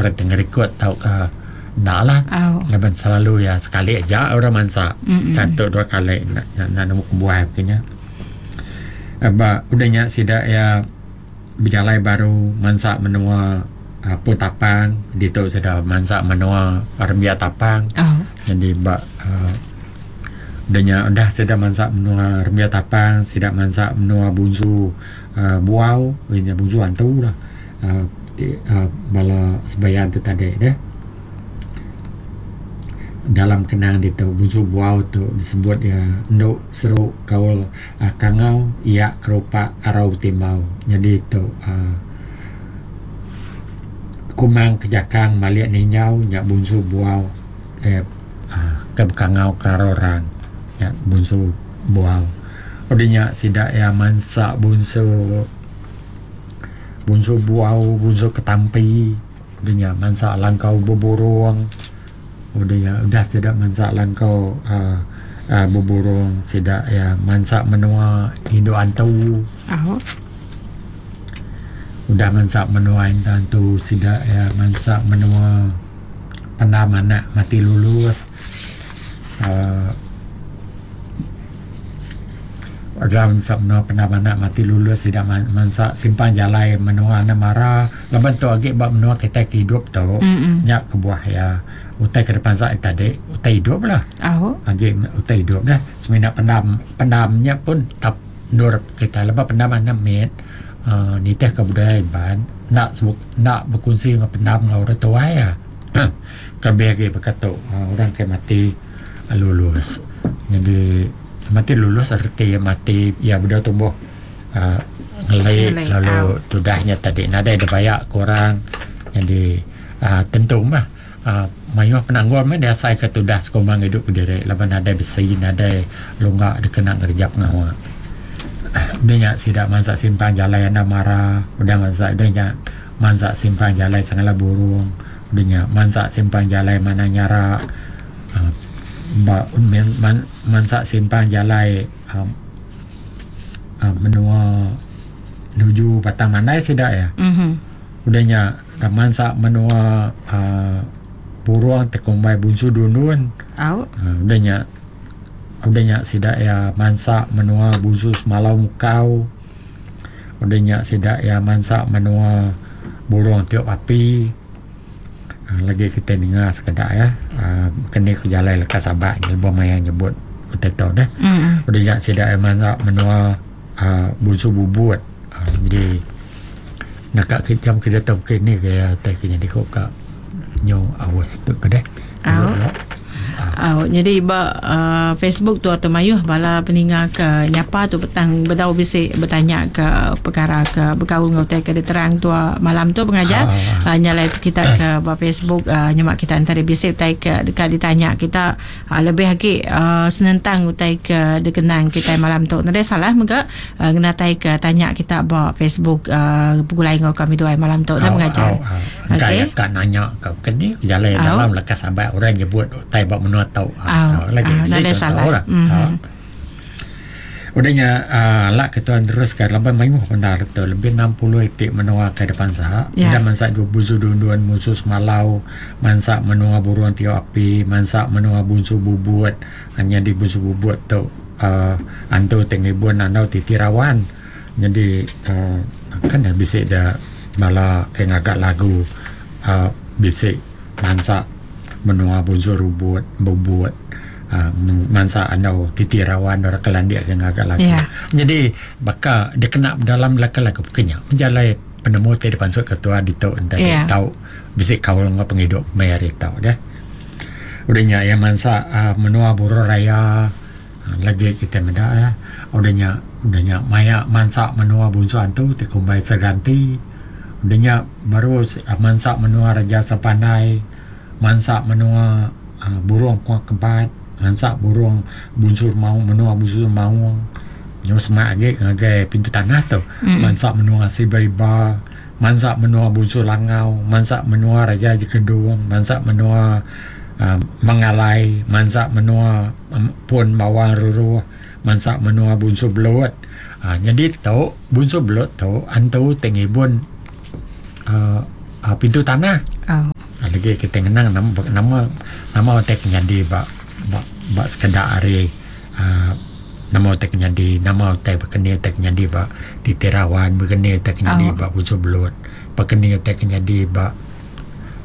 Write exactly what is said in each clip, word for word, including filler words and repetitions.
Orang ti ngerikod tauka enda lah. Oh. Laban selalu iya sekali aja orang mansa. Mm-mm. Tentu dua kali enda enda nemu kebuah ke nya. Ba udah nya sida iya bejalai baru mansa menua uh, Pun Tapang. Ditu sida mansa menua Rembia Tapang. Oh. Jadi ba uh, udah nya udah sida mansa menua Rembia Tapang, sida mansa menua Bunsu uh, Buau, nya Bunsu Antu lah. Uh, ti, uh, bala sebayan tu tadi deh. Dalam kenang ditu Bunsu Buau tu disebut ya enduk seru kaul uh, kangau ia kerupak arau timbau. Jadi tu uh, kumang kejakang malik ninjau nya Bunsu Buau eh uh, ke bekangau kerara orang nya Bunsu Buau. Udah nya sida ya mansa Bunsu Bunsu Buau, Bunsu Ketampi, udah nya mansa langkau beburung. Udah nya udah sida mansa langkau uh, uh, beburung, sida ya mansa menua Indu Antu. Oh. Udah mansa menua Indu Antu, sida ya mansa menua Pendam Anak Mati Lulus. Uh, dalam mansa menua Pendam Anak Mati Lulus, sida mansa simpang jalai menua Anamara. Laban tu agi ba menua kita ke hidup tu. Mm-mm. Nya kebuah ya utai ke depan saat tadi utai hidup lah. Oh. Agi utai hidup dah. Semina pendam pendamnya pun tap nur kita lepas pendam anak mit uh, nitih ke budaya Iban nak sebut nak berkongsi dengan pendam dengan orang tua ya. Kelebih lagi berkata uh, orang ke mati uh, lulus. Jadi mati lulus arti mati ya budak tumbuh uh, ngelai Ngelai, lalu au. tudahnya tadi nadai ada banyak kurang. Jadi uh, tentu mah uh, mayuh penanggul mah dia sai ke tudah sekumang hidup berdiri laban nadai besi nadai lunggak dikena ngerja pengawa. Udah nya sida mansa simpang jalai anda marah, udah mansa udah nya mansa simpang jalai sangala burung, udah nya mansa simpang jalai mana nyara, uh, ba, men, man, mansa simpang jalai um, uh, menua nuju Batang Mandai sida ya. Mhm. Udah nya dah mansa menua uh, burung tekumbai Bunsu Dunun. Au. Uh, udah nya udah nya sida ya mansa menua Bunsu Semalau Mukau. Udah nya sida ya mansa menua burung tiup api. Uh, lagi kita dengar sekedak ya. Uh, kena ke jalai lekas sabak lebuh maya nyebut utai tu dah. Mm-mm. Udah nya sida ya mansa menua uh, Bunsu Bubut. Uh, jadi nak ke jam ke datang ke ni ke ya tai ke jadi kok ka nyo awas tu ke deh. Au. Oh, jadi ba uh, Facebook tu atau mayuh bala peninga ke nyapa tu petang bedau bisi bertanya ke perkara ke berkaul ngau tai ke diterang tu malam tu pengajar. Ah. Uh, nyalai kita ke ba Facebook uh, nyemak kita antara bisi utai ke dekat ditanya kita uh, lebih lagi uh, senentang utai ke dikenang kita malam tu. Nadai salah mega uh, ngenatai ke tanya kita ba Facebook uh, pegulai ngau kami dua malam tu dah pengajar. Okey. Okey. Ka nanya ke kini jalai Au. dalam lekas sahabat orang nyebut utai ba menua tau. Au. Ah, lagi Au, bisi nadai contoh salah. lah. Mhm. Ah. Udahnya uh, lak ketuan teruskan laban mayuh benar tu lebih enam puluh itik menua ke depan sah. Yes. Udah mansak dua buzu dunduan musuh semalau, mansak menua burung tiup api, mansak menua bunsu bubut. Hanya di bunsu bubut tu uh, antu tengibun andau titirawan. Jadi uh, kan dah bisik dah bala ke ngagak lagu uh, bisik mansak menua bunsu rubut bubut. Uh, mansa andau titirawan orang kelandik ke ngagak lagu. Ya. Jadi baka dia kena dalam laka-laka pekenya menjalai penemu ti depan sok ketua ditu entah Ya. tau bisik kaul ngau penghidup mayari tau dah. Udahnya yang mansa uh, menua burung raya uh, lagi kita meda ya. Udahnya udahnya maya mansa menua bunsu antu ti kumbai seganti. Udahnya baru uh, mansa menua raja sepandai, mansa menua uh, burung kuah kebat, mansa burung bunsur maung menua bunsur maung. Nyo semak agi ngagai pintu tanah tu. Mm. Mansa menua Sibaiba, mansa menua bunsur langau, mansa menua raja jekedung, mansa menua uh, mengalai, mansa menua um, pun bawang ruruh, mansa menua bunsur belut. Uh, jadi tu bunsur belut tu antu tengibun uh, uh, pintu tanah. Oh. Lagi kita ngenang nama nama nama utai ke nyadi ba ba, ba sekeda hari uh, nama utai ke nyadi, nama utai bekeni utai ke nyadi ba Titi Rawan, bekeni utai ke nyadi Oh. ba Busu Belut, bekeni utai ke nyadi ba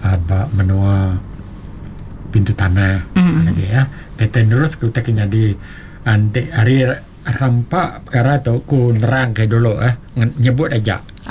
uh, ba menua Pintu Tanah. Mm-mm. Lagi ya. Kita terus ke utai ke nyadi anti hari rampak perkara tu ku nerang ke dulu eh nyebut aja.